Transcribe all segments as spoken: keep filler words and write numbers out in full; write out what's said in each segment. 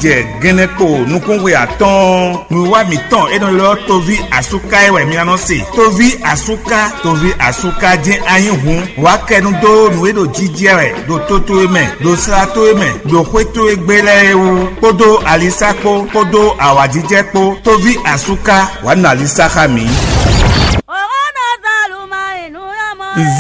Jɛ gɛnɛkpo nukúnxwe atɔ́ɔ́n, nǔwiwa mǐtɔn e nɔ ylɔ́ tóví asúká é wɛ mi ná nɔ se. Tóví asúká, tóví asúká jɛ́n a nyí hǔn, wǎ kɛnu dó nǔ e ɖo jijɛ wɛ ɖo to towe mɛ, ɖo sla towe mɛ, ɖo xwé towe gbe lɛ́ɛ é wú, kpódó alisá kpó, kpódó awǎjijɛ kpó. Tóví asúká, wǎ nɔ alisá xá mǐ.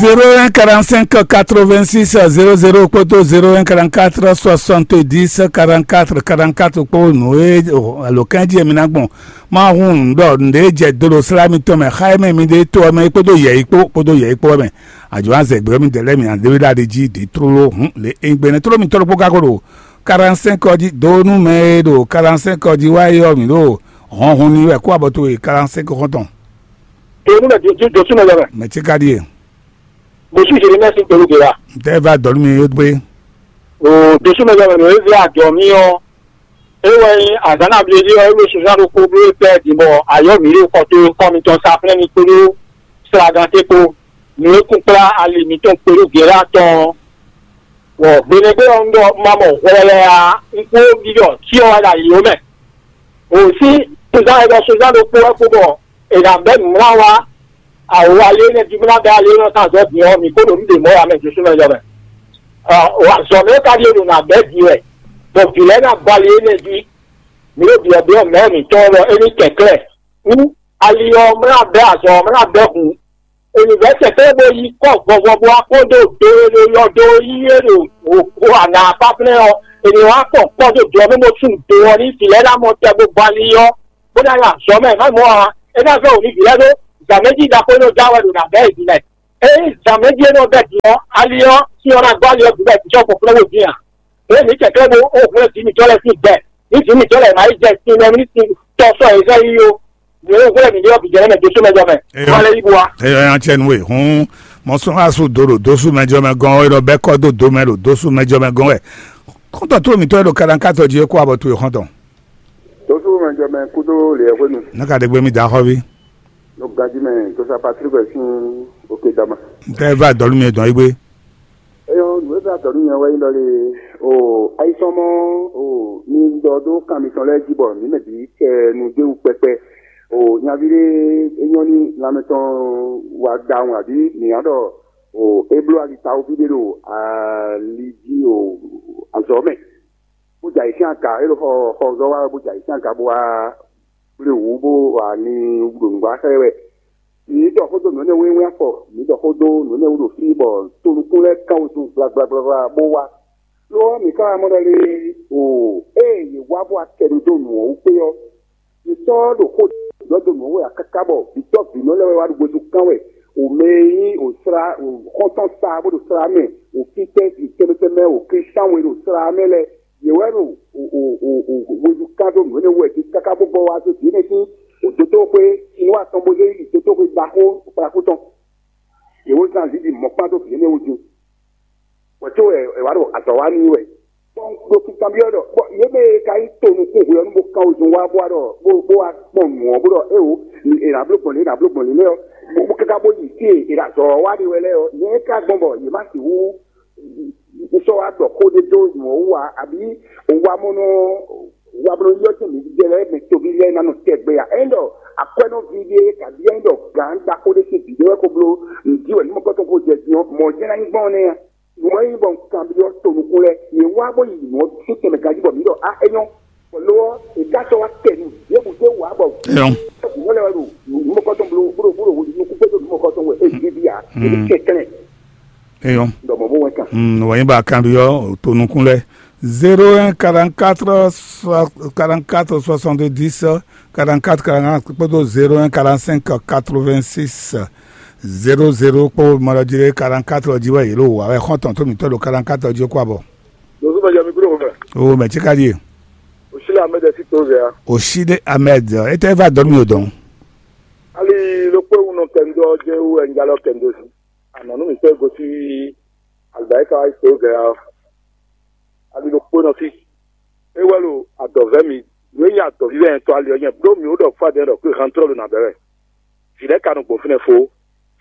Zéro un quarante-cinq quatre-vingt-six zéro zéro kpódó zéro un quarante-quatre soixante-dix quarante-quatre quarante-quatre kpó nǔ e alǒkan jí e mi ná gbɔn. Ma hun nǔ ɖɔ nǔɖé jɛ do ɖo slá mitɔn mɛ, xá e mɛ mi ɖe to ɔ́ mɛ kpódó yɛ̌yi kpó kpódó yɛ̌yi kpó ɔ́ mɛ. Ajɔ̌ azɛ gbɛ mi dɛ lɛ́ mi adéwéɖa ɖe jí ɖě tlóló hǔn lě e gbɛnɛ tlóló mitɔ́ ɖokpó ka ko ɖo quarante-cinq ɔ́ jí dó nú mɛ e ɖo quarante-cinq ɔ́ jí wá é ɔ́, mǐ ɖo hɔnhun ní wɛ kó abɔ towe quarante-cinq xɔ́ntɔn. Èmi mɛ dúdú dosú mɛ lɛmɛ. Mɛ ce ka ɖíe. Bosú Jérémie sín kpelú gbe wa. Ntɛ va dɔlú mi yó gbé. O dosú mɛ lɛmɛ nɔ eze adɔ mi ɔ. Ewɛ nyi azǎn na bli ɔ ewé suzán ɖokpó bló e pɛ din bɔ ayɔ mi ɖo kɔ to kɔ mitɔn sa flɛ́ mi kpódó slagan te kpó. Nǔ e kún kplá ali mitɔn kpelú gbe la tɔn. Bɔ gbeɖégbé ɔ́ un ɖɔ un ma mɔ hwlɛlɛ a un kó ɖiɖɔ cyɔ wɛ ɖo ayǐ ó mɛ. O sí suzán e ɖɔ suzán ɖokpó wɛ kpó bɔ è nǎ bɛ́ nǔmlá wá. Awo ali énɛ́ jí bó ná bɛ́ ali énɛ́ tán azɔ̌ din ɔ́, mǐ kó ɖo nǔ ɖě mɔ̌ ǎ mɛ Josú mɛ jɔ mɛ. Azɔ̌ mɛ ka ɖíe ɖo nǎ bɛ́ din wɛ, bɔ vǐ lɛ́ɛ ná gba ali énɛ́ jí. Mǐ ɖo byɔ̌byɔ́ mɛ̌ mǐtɔn ɔ́ ɖɔ é ní kɛnklɛ́n. Hú ali ɔ́ mlá bɛ́ azɔ̌ ɔ́ mlá bɛ́ hǔn. È nǐ vɛ́ tɛ̌tɛ́ bó yí kɔ́ vɔvɔ bó wá kpɔ́n dó do e ɖo yɔ dó yí é ɖo ana apáflɛ́n ɔ́, è nǐ wá kpɔn kpɔ́ dó do ɔ́ mɛ bó sú do ɔ́ ní vǐ lɛ́ɛ ná mɔ tɛ bó gba ali ɔ́, bó ná nyi azɔ̌ mɛ má mɔ ǎ. É ná vɛ́ wǔ ní vǐ lɛ́ɛ ɖó zǎmɛjí ɖaxó e nɔ ja wɛ ɖo nǎ bɛ́ yě din lɛ́ɛ. Ényí zǎmɛjí e nɔ bɛ́ din ɔ́, ali ɔ́, sin ɔ́ ná gɔ́ ali ɔ́ bǐ wɛ vǐ sɔ́ kpɔ́n kplɔ́n wǒ din a? Ě mǐ kɛ̀klɛ́ bó ó hwlɛ́n vǐ mǐtɔn lɛ́ɛ sín gbɛ, ní vǐ mǐtɔn lɛ́ɛ ná yi jɛ sin mɛ ní sin tɔ́ sɔ́ yě zɛ yí ó. Mǐ e hwlɛ́n mǐ ɖe ɔ́ bǐ jɛ́n mɛ dó sú mɛ jɔ mɛ. Eyɔ. Wá lɛ́ yí bú wa. Eyɔ nya cɛ nú we hǔn, mɔ sɔ́ xá su do ɖo dó sú mɛ jɔ mɛ gɔ́n wɛ, ɖɔ bɛ́ kɔ́ dó dó mɛ ɖo dó sú mɛ jɔ mɛ gɔ́n wɛ. Kɔ́ntɔn tó mǐtɔn e ɖo kaɖankátɔ jí é kó abɔ towe xɔ́ntɔn. Dó sú mɛ jɔ mɛ kúdó lě ɛ hwenu. Ní ka ɖe gbé mì dǎ xɔ́ví. Ɖo ganjí mɛ, tó sa Patrick wɛ sín òkè dama. N tɛ va dɔ̌lú mi dɔn yí gbé. Eyɔ nǔ e zá dɔ̌ nú nyɛ wɛ nyí ɖɔ lé o ayisɔmɔ o mi ɖɔ ɖó kan mitɔn lɛ́ɛ jí bɔ mǐ mɛ bǐ kɛ nu dó wú kpɛkpɛ. O nyaví ɖé é nyɔ́ ní lanmɛ tɔn wa ɖawun abǐ mǐ ná ɖɔ o é bló ali tawun fí ɖé ɖo ali jí o azɔ̌ mɛ, bó jɛ ayǐ sín aga é ɖo xɔ xɔzɔ́ wa wɛ bó jɛ ayǐ sín aga bó wá kplé wǔ bó wá ní ɖo nǔgbó xá ɛ wɛ. Mǐ ɖɔ xó dó nǔ énɛ́ wú e wɛ́n afɔ, mǐ ɖɔ xó dó nǔ énɛ́ wú ɖo fí bɔ to nukún lɛ́ɛ kán wezun gblagblagbla bó wá. Lo ɔ́, mǐ ka wá mɔ ɖɔ lé o, ée yě wá bó wá kɛ nu dó nǔ ɔ́ wú kpé ɔ́, mǐ sɔ́ ɖo xó ɖɔ dó nǔ ɔ́ wú wɛ káká bɔ vǐtɔ́ vǐnɔ lɛ́ɛ wɛ wá ɖo gbezu kán wɛ. O mɛ e nyí o sla o xɔ́ntɔn sa bó ɖo sla mɛ, o fítɛ́ tɛnmɛ tɛnmɛ o Klísu we ɖo sla mɛ lɛ́ɛ, yě wɛ ɖo o o o o wezu kán dó nǔ énɛ́ wú wɛ jí káká bó gbɔ wá dó dǐ énɛ́ sín o dotóxwé Sinwá tɔn bó zé yi dotóxwé ɖaxó kplakú tɔn. Yě wó zán zǐn ɖi mɔ̌kpán dó vǐ énɛ́ wú din. Bɔ có wɛ è wǎ ɖo azɔ̌ wa n'i wɛ. Bɔ un ɖo kinkanbyɔ́ ɖɔ bɔ yě mɛ e ka nyí to nukún hwe ɔ́ nú bó kán wezun wá bó wá ɖɔ bó bó wá kpɔn nǔ ɔ́ bó ɖɔ éwo è nǎ bló gbɔn lě è nǎ bló gbɔn lě lɛ́ɛ ɔ́, bó bó káká bó yi fí e è ɖo azɔ̌ ɔ́ wá ɖe wɛ lɛ́ɛ ɔ́, nyɛ ka gbɔn bɔ yě má sixú un sɔ́ wá ɖɔ xó ɖé dó nǔ ɔ́ wú ǎ, abǐ un wá mɔ nɔ wá bló ylɔ́ tɛn mǐ jɛ lɛ́ɛ mɛ toví lɛ́ɛ ná nɔ tɛgbɛ ǎ. É ɖɔ akwɛ́nɔví ɖé kabí é ɖɔ gǎn ɖaxó ɖé sín vǐ ɖé wɛ ko bló nǔ jí wɛ nǔ mɔ̌kɔ́tɔn ko jɛ din ɔ́, mɔ̌ jɛ́n ná nyí gbɔn nɛ́ a? Nǔ e nyí bɔ un kanbyɔ́ tonukún lɛ́ɛ, yě wá bó yi nǔ ɔ́ sín tɛnmɛ ganjí bɔ mǐ ɖɔ á é nyɔ́. Bɔ lo ɔ́, è ká sɔ́ wá kɛ nu ɖěbǔ dó wǎ bɔ Eyɔ́. Nǔ lɛ́ɛ wɛ ɖo nǔ mɔ̌kɔ́tɔn bló bó ɖo bó ɖo nukún kpé ɖo nǔ mɔ̌kɔ́tɔn wɛ é ɖíɖí ǎ. É ɖo kɛnklɛ́n. Eyɔ́. Ɖɔ mɔ̌ bó wɛn kan. Mm, wǎ nyí bɔ a kanbyɔ́ tonukún lɛ́ɛ. Zéro un quarante-quatre quarante-quatre soixante-dix quarante-quatre quarante kpódó zéro un quarante-cinq quatre-vingt-six zéro zéro kpó mɔ ɖɔ jí ɖé quarante-quatre jí wɛ yě ɖo wǎ wɛ xɔ́ntɔn tó mǐtɔn ɖo quarante-quatre jí kó abɔ. Dozú mɛ jɛ mi kúrò wɛ. O mɛ tí ka ɖíe. Òsílẹ̀ Ahmed ẹ̀ sí tó zẹ̀ ya. Òsílẹ̀ Ahmed, ẹ tẹ́ va dɔn mi ò dɔn. Ali ló pé wúnɔ kẹ́ńdó jẹ́ wú ẹ̀ ń jalọ́ kẹ́ńdó sí. Àná nú mi fẹ́ gosí àlùbáríkà wá tó zẹ̀ ya. Ali ló pé nɔ sí. É wá lo àdɔ̀vẹ́ mi. Nú é nyí àdɔ̀ví wɛ tɔ ali ɔ́ nyɛ. Bló mi ó ɖɔ fún adé ɖɔ pé hantúrọ̀ ló nà bẹ̀rẹ̀. Vǐ lɛ́ɛ ka nɔ gbɔn fínɛ́ fó.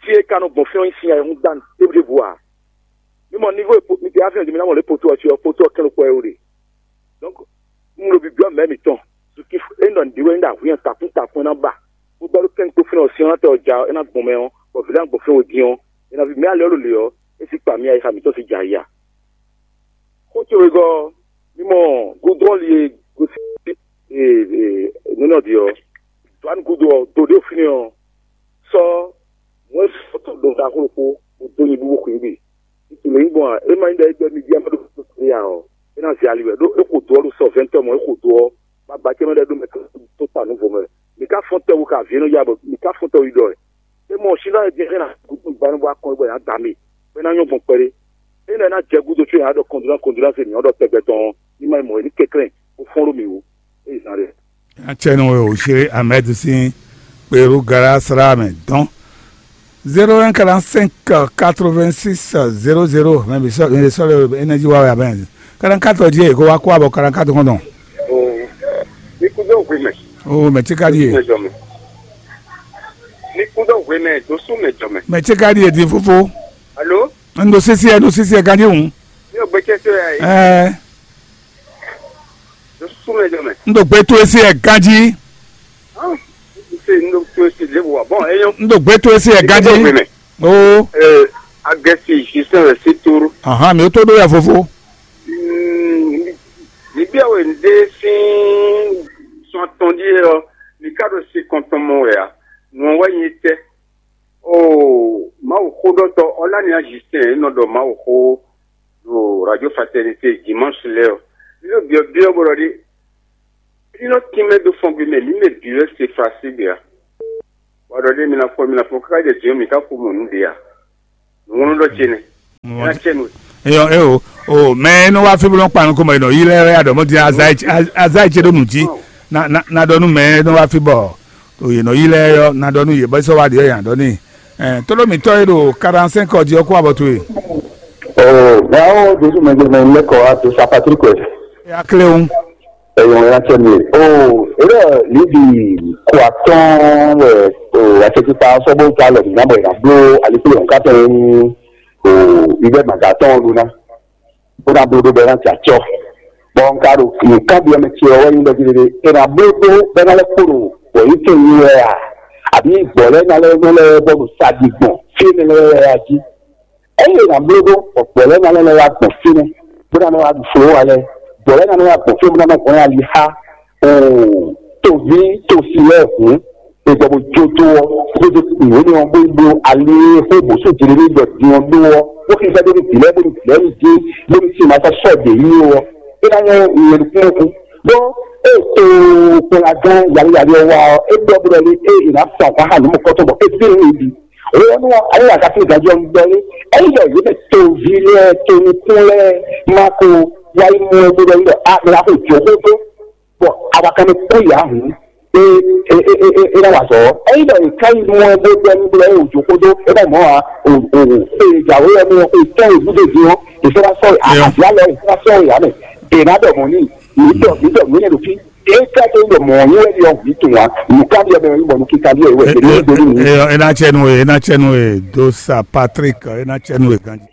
Fí e ka nɔ gbɔn fínɛ́ ɔ́ nyí sin ayɛhúngbán ɖébúɖébú ǎ. Mi mɔ nívo e mi ɖe afin ɔ́ jí mi ná mɔ lě poto ɔ́ cí ɔ́, poto ɔ́ kɛn ɖokpó wɛ é ɖe. Donc, Un ɖo bibyɔ́ mɛ̌ mǐtɔn. Sukífu é nɔ nǔɖé wɛ é ɖo ahu nyi takún takún é ná ba, bó bɛ́ ɖó kɛ́nkpó fínɛ́ ɔ́, sin ɔ́ ná tɛ ɔ́ ja ɔ́, é ná gbɔn mɛ ɔ́, bɔ vǐ lɛ́ɛ ná gbɔn fínɛ́ din ɔ́, é ná ví mɛ alɛ ɔ́ ɖo lě ɔ́, é sí kpa mì ayixa mǐtɔn sín jɛ ayǐ a? Xó ce wegɔ́ ɔ́, mì mɔ gudrɔ́li e gosín nǔnɔ ɖi ɔ́, Joanu gúdo ɔ́, do ɖé fínɛ́ ɔ́, sɔ́ mɔ̌ e sɔ́ tɔn ɖo ɖaxó ɖokpó, bó dó nyi búbú xwǐngbe. Titun lě nyí gbɔn a? É má nyí ɖɔ é gbɛ́ mì jí a má ɖo kpókpó ya ɔ́, é ná zɛ ali wɛ, ɖó é xo do ɔ́ ɖo sɔ vɛ̌ntɔ́ mɔ̌ é xo do ɔ́, bɔ agba ce mɛ ɖɔ é ɖó mɛ tó ta nǔ vo mɛ. Mǐ ka fɔ́n tɛwu ka vǐ e nɔ ya bɔ mǐ ka fɔ́n tɛwu yi ɖɔ wɛ. É mɔ Sinɔ e jɛ xɛ ná gúdo gba nú bó wá kɔn é bɔ è nǎ da mì, bɔ é ná nyɔ́ gbɔn kpɛɖé. É nɔ é ná jɛ gúdo có è nǎ ɖɔ kɔndúná kɔndúná se mǐ ɔ́ ɖɔ tɛgbɛ tɔn ɔ́, ní má nyí mɔ̌ é ní kɛnklɛ́n bó fɔ́n ɖó mǐ wú. É yi zán ɖe. Acɛnɔ e ò Shéri Ahmed sín kperú Galá slá mɛ dɔn. Zéro un quarante cinq quatre vingt six zéro zéro, mɛ bi sɔ mɛ sɔ le énergie wa wɛ abɛn. Quarante quatre ɔ́ jí e kó wá kó abɔ quarante quatre kɔn dɔn. Oh, ní kúdó hwe mɛ. Oh, mɛ tí ka ɖi e. Mɛ jɔ mɛ. Ní kúdó hwe mɛ dó sú mɛ jɔ mɛ. Mɛ tí ka ɖi e di fúfú. Alo. N ɖo sisi ɛ, n ɖo sisi ɛ ganjí hǔn. Ní o gbɛcɛ tó yà yìí. Ɛɛ. Dó sú mɛ jɔ mɛ. N ɖo gbé tó esi ɛ ganjí. Ah, n se n ɖo tó esi lé wa. Bon, eyɔn. N ɖo gbé tó esi ɛ ganjí. Ní kúdó hwe mɛ. Oo. Ɛɛ, agɛsi jisɛn wɛ sí tóru. Ahan, mi ó tó ɖó ya fofo. Ní bí awo ndé sín sɔn atɔn ɖíe ɔ́, mi ka ɖo si kɔntɔn mɔ wɛ a? Nǔ ɔ́ wɛ nyi tɛ. Oo, Mawu xóɖɔtɔ Ɔlánìá Justin e nɔ ɖɔ Mawu xó ɖo Radio Fraternité dimanche lɛ́ɛ ɔ́, mi ɖo byɔ̌byɔ́ bó ɖɔ ɖi, é nɔ tínmɛ dó fɔngbe mɛ, mǐ mɛ bǐ wɛ se Falasígbe a? Bɔ ɖɔ ɖé mi ná fɔ, mi ná fɔ káká jɛ jǐ ɔ́, mǐ ka xo mɔ nǔ ɖě a? Nǔŋlɔ́ ɖɔ ce nɛ́. Ná ce nú. Eyɔ, e o, o, mɛ e nɔ wá fí bó nɔ kpa nukɔn mɛ, e nɔ yi lɛ́ɛ wɛ ya ɖɔ mɔ din aza yi ce ɖo nǔ jí. Na, na, na ɖɔ nú mɛ e nɔ wá fí bɔ o yě nɔ yi lɛ́ɛ yɔ, na ɖɔ nú yě bɔ sɔ wá ɖi yɔ yǎ ɖɔ n'i. Ɛ, tlóló mǐtɔn e ɖo quarante-cinq ɔ́ jí ɔ́ kó abɔ towe. Oh, bravo, Jésus mɛ jɛ mɛ lɛkɔ a to sa Patrick wɛ. Ya kléwún. Eyɔn ya tɛ mi. Oh, ere libi kó atɔn wɛ. Oh, asɛkikpa sɔbɔ ta lɛ na bɔ ina blo alikpo yɔn katɔn. Oh, ibɛ maga tɔn lu na. Bó ná bló ɖó bɔ é ná jɛ acɔ́. Bɔ un ka ɖo nǔkanbyɔ́ mɛ ce ɔ́ wɛ nyí ɖɔ jí ɖéɖé: è nǎ bló ɖó bɔ é ná lɛ́ kpo ɖo gbɔ̌yítɛn nyi wɛ a, abǐ gbɔ̌ lɛ́ɛ ná lɛ́ nɔ lɛ́ bɔ ɖo sa ɖi gbɔn fí énɛ́ lɛ́ɛ wɛ a jí? Ényí è nǎ bló ɖó bɔ gbɔ̌ lɛ́ɛ ná lɛ́ nɔ wá gbɔn fínɛ́, bó ná nɔ wá ɖu folówa lɛ́ɛ, gbɔ̌ lɛ́ɛ ná nɔ wá gbɔn fínɛ́ bó ná nɔ hwlɛ́n ali xá toví tosi lɛ́ɛ hǔn, è gbɔ bó jó dó ɔ́, bó dó nǔ énɛ́ ɔ́, bó yi bló ali e xó bǒ sú jǐɖéɖé ɖɔ din ɔ́ ɖó ɔ́, bó xíxɛ́ dó nú vǐ lɛ́ɛ, bónú vǐ lɛ́ɛ ní dín, bónú sin ma sɔ́ sɔ́ ɖě yí ó ɔ́, é ná nyɔ́ nyɛ ɖokpónɔkun. Ɖó ée tokpɔnlagán yalɔyali ɔ́ wá ɔ́, é ɖɔ bó ɖɔ lé ée è nǎ fɔ ahwan xá nǔ mɔ̌kɔ́tɔn bɔ é dín nǔ yi ɖi. Hwenu ɔ́, ayé akasin gǎnjɔ un ɖɔ lé, ényí ɖɔ yě mɛ toví lɛ́ɛ, tonukún lɛ́ɛ ma ko wá yi mɔ ɛ bó ɖɔ nú ɖɔ a mɛ ná xo jǒxó dó, bɔ awakanmɛ kpɔ́n yě ahǔn, é é é é é ná wa azɔ̌ ɔ́. Ényí ɖɔ è ká yi mɔ ɛ bó ɖɔ nú blɛ́ wǒ jó xódó, é ná mɔ ǎ. O o o e jǎwe ɔ́ mɛ ɔ, e tɔ́n e gúdo din ɔ́, è sɔ́ ná sɔ́ wɛ, Eyɔn. Àbí alɔ è sɔ́ ná sɔ́ wɛ ǎ mɛ. È nǎ ɖɔ mɔ̌ n'i, mǐ ɖɔ mǐ ɖɔ mǐ lɛ́ ɖo fí. É ká tó ɖɔ mɔ̌ nyí wɛ ɖi ɔ́, mǐ tunwun ǎ. Nǔkanbyɔ́ mɛ ɔ́ nyí bɔ nǔkíkanbyɔ́ è wɛ. È nǐ ɖó nú mǐ. Eyɔn, é ná cɛ nú we, é ná cɛ nú we, dó sa Patrick, é ná cɛ nú we ganjí.